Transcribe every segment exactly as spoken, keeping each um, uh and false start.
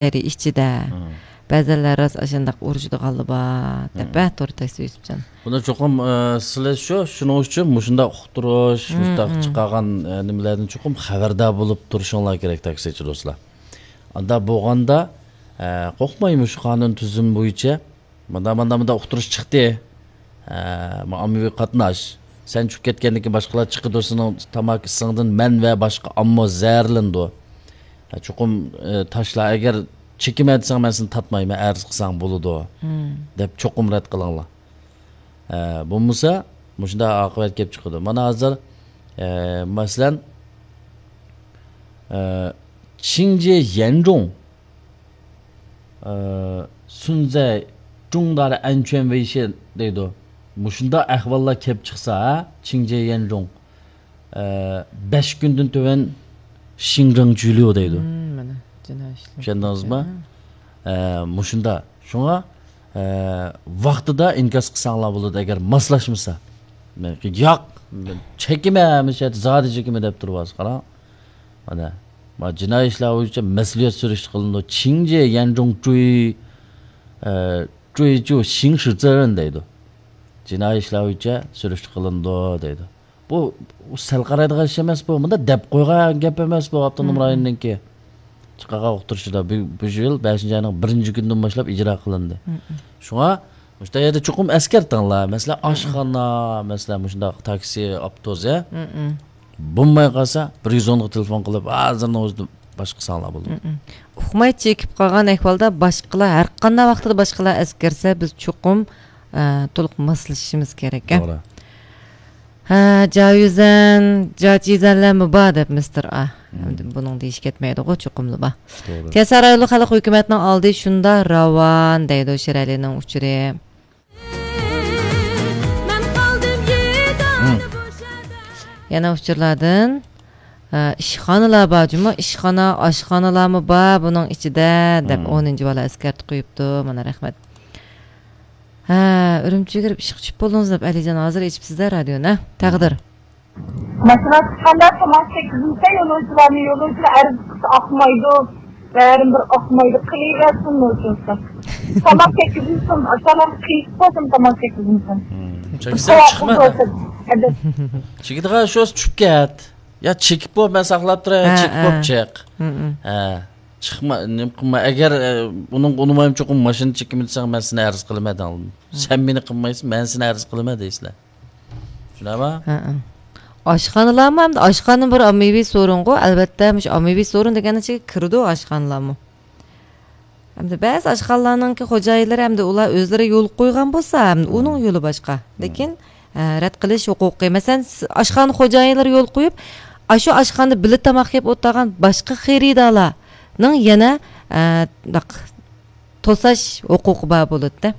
ئىچىدە. مم. بەزەنلەر راست ئاشۇنداق ئۇرۇشىدىغانلار بار دەپ، مم، ھە، تور تەكستى يۈسۈپجان. بۇنى چوقۇم، ئە، سىلەر شۇ، شۇنىڭ ئۈچۈن مۇشۇنداق ئۇقتۇرۇش، مم، مۇشۇنداق، مم، چىقارغان، ئە، نېمىلەردىن چوقۇم خەۋەردار بولۇپ تۇرۇشۇڭلار كېرەك، تاكسىچى دوستلار. ئاندا بولغاندا، ئە، قورقماي مۇشۇ قانۇن تۈزۈم بويىچە مۇنداق، مۇنداق، مۇنداق ئۇقتۇرۇش چىقتى. ئە، مۇ-، ئاممىۋى قاتناش. سەن چۈشۈپ كەتكەندىن كېيىن باشقىلار چىقىدۇ، سېنىڭ تاماكا ئىسىڭدىن مەن ۋە باشقا ئامما زەھەرلىنىدۇ. ئە، چوقۇم، ئە، تاشلا. ئەگەر چېكىمەن دېسەڭ، مەن سېنى تارتمايمەن، ئەرز قىلساڭ بولىدۇ، مم، دەپ چوقۇم رەت قىلىڭلار. ئە، بولمىسا، مۇشۇنداق ئاقىۋەت كېلىپ چىقىدۇ. مانا ھازىر، ئە، مەسىلەن، ئە، چىڭجى يەنجۇڭ، ئە، سۇنزەي جۇڭدارى ئەنچۈەن ۋېيشى دەيدۇ. مۇشۇنداق ئەھۋاللار كېلىپ چىقسا، ھە، چىڭجى يەنجۇڭ، ئە، بەش كۈندىن تۆۋەن شىڭجاڭ جۈليۇ دەيدۇ. مم، مانا، جىنايى ئىشلار. چۈشەندىڭىزمۇ؟ ھە. ئە، مۇشۇنداق. شۇڭا، ئە، ۋاقتىدا ئىنكاس قىلساڭلار بولىدۇ، ئەگەر ماسلاشمىسا. مەن، ياق، مەن چېكىمەن، ھەمىشە زادى چېكىمەن دەپ تۇرۇۋالسا، قاراڭ. مانا، ما جىنايى ئىشلار بويىچە مەسئۇلىيەت سۈرۈشتە قىلىنىدۇ. چىڭجى يەنجۇڭ جۇي، ئە، جۇي جۇ شىڭ شىزېرېن دەيدۇ. جىنايى ئىشلار بويىچە سۈرۈشتە قىلىنىدۇ دەيدۇ. بۇ، بۇ سەل قارايدىغان ئىش ئەمەس بۇ. مۇنداق دەپ قويغان گەپ ئەمەس بۇ، ئاپتونوم، مم، رايوننىڭكى. چىقارغان ئۇقتۇرۇشىدا بۇ، بۇ يىل بەشىنچى ئاينىڭ بىرىنچى كۈنىدىن باشلاپ ئىجرا قىلىندى. مم، مم. شۇڭا مۇشۇنداق يەردە چوقۇم ئەسكەرتىڭلار. مەسىلەن، مم، ئاشخانا، مەسىلەن، مۇشۇنداق تاكسى، ئاپتوبۇس، ھە؟ مم، مم. بولماي قالسا، بىر يۈز ئونغا تېلېفون قىلىپ، ھازىرنىڭ ئۆزىدە باشقا ساڭلار بولىدۇ. مم، مم. ئۇقماي چېكىپ قالغان ئەھۋالدا باشقىلار، ھەر قانداق ۋاقىتتا باشقىلار ئەسكەرسە، بىز چوقۇم، ئە، تولۇق ماسلىشىشىمىز كېرەك، ھە؟ توغرا. ھە، جاۋيۈزەن، جاچىزەنلەرمۇ بار دەپ مىستېر ئا. مم. ئەمدى بۇنىڭ دېيىشى كەتمەيدىغۇ، چوقۇملا بار. توغرا. كەسەر رايونلۇق خەلق ھۆكۈمەتنىڭ ئالدى شۇنداق راۋان دەيدۇ شىرئەلىنىڭ ئۇچۇرى. مەن قالدىم يېتىم. مم. يەنە ئۇچۇرلاردىن، ئە، ئىشخانىلار بار جۇمۇ، ئىشخانا، ئاشخانىلارمۇ بار بۇنىڭ ئىچىدە دەپ، مم، ئونىنچى بالا ئەسكەرتىپ قويۇپتۇ. مانا، رەھمەت. ھە، ئۈرۈمچىگە كىرىپ ئىشقا چۈشۈپ بولدىڭىز دەپ، ئەلىجان ھازىر ئېچىپسىز-دە رادىيونى، ھە؟ تەقدىر. ماشىنا چىققاندا تاماق چەككۈزمىسە، يولۇچىلارنى، يولۇچىلار ئەرز قىلسا ئاقمايدۇ. بەرىبىر ئاقمايدۇ، قىلىۋەرسۇن نوچىسى. تاماق چەككۈزمىسۇن، تاماق قىيىپ قويسۇن، تاماق چەككۈزمىسۇن. چەكسەم چىقمىدى. چېكىدىغان شۇ چۈشۈپ كەت. يا چېكىپ بوپ، مەن ساقلاپ تۇراي، ھە، چېكىپ بوپ ھە. چىق. ھە. چىقما، نېمە قىلما. ئەگەر، ئە، ئۇنىڭغا ئۇنىمايمەن چوقۇم ماشىنا چېكىمەن دېسەڭ، مەن سېنى ئەرز قىلىمەن دەڭلىدىم. سەن مېنى قىلمايسەن، مەن سېنى ئەرز قىلىمەن دەيسىلەر. شۇنداقمۇ؟ ھە، ھە. ئاشخانىلارمۇ ئەمدى، ئاشخانا بىر ئاممىۋى سورۇنغۇ، ئەلۋەتتە، مۇشۇ ئاممىۋى سورۇن دېگەننىڭ ئىچىگە كىرىدۇ ئاشخانىلارمۇ. ئەمدى بەزى ئاشخانىلارنىڭكى خوجايىنلىرى ئەمدى ئۇلار ئۆزلىرى يول قويغان بولسا، ئەمدى ئۇنىڭ يولى باشقا. لېكىن، ئە، رەت قىلىش ھوقۇقى. مەسىلەن، س-، ئاشخانا خوجايىنلىرى يول قويۇپ، ئاشۇ ئاشخانىدا بىللە تاماق يەپ ئولتۇرغان باشقا خېرىدارلارنىڭ يەنە، ئە، بۇنداق توساش ھوقۇقى بار بولىدۇ.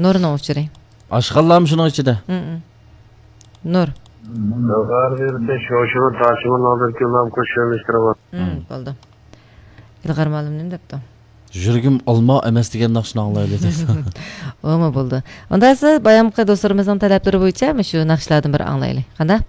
نۇرنىڭ ئۇچۇرى. ئاشخانىلارمۇ شۇنىڭ ئىچىدە؟ مم. نۇر. بۇلغارىيەدە شوشىنىڭ تاشىمۇن ئالدىدىكى يوللارنى قوشۇملاشتۇرۇۋاتىدۇ. مم، بولدى. ئىلغار مۇئەللىم نېمە دەپتۇ؟ يۈرىكىم ئالما ئەمەس دېگەن ناخشىنى ئاڭلايلى دەپتۇ. ئۇمۇ بولدى. ئۇندا سىز بايامقى دوستلىرىمىزنىڭ تەلەپلىرى بويىچە مۇشۇ ناخشىلاردىن بىر ئاڭلايلى. قانداق؟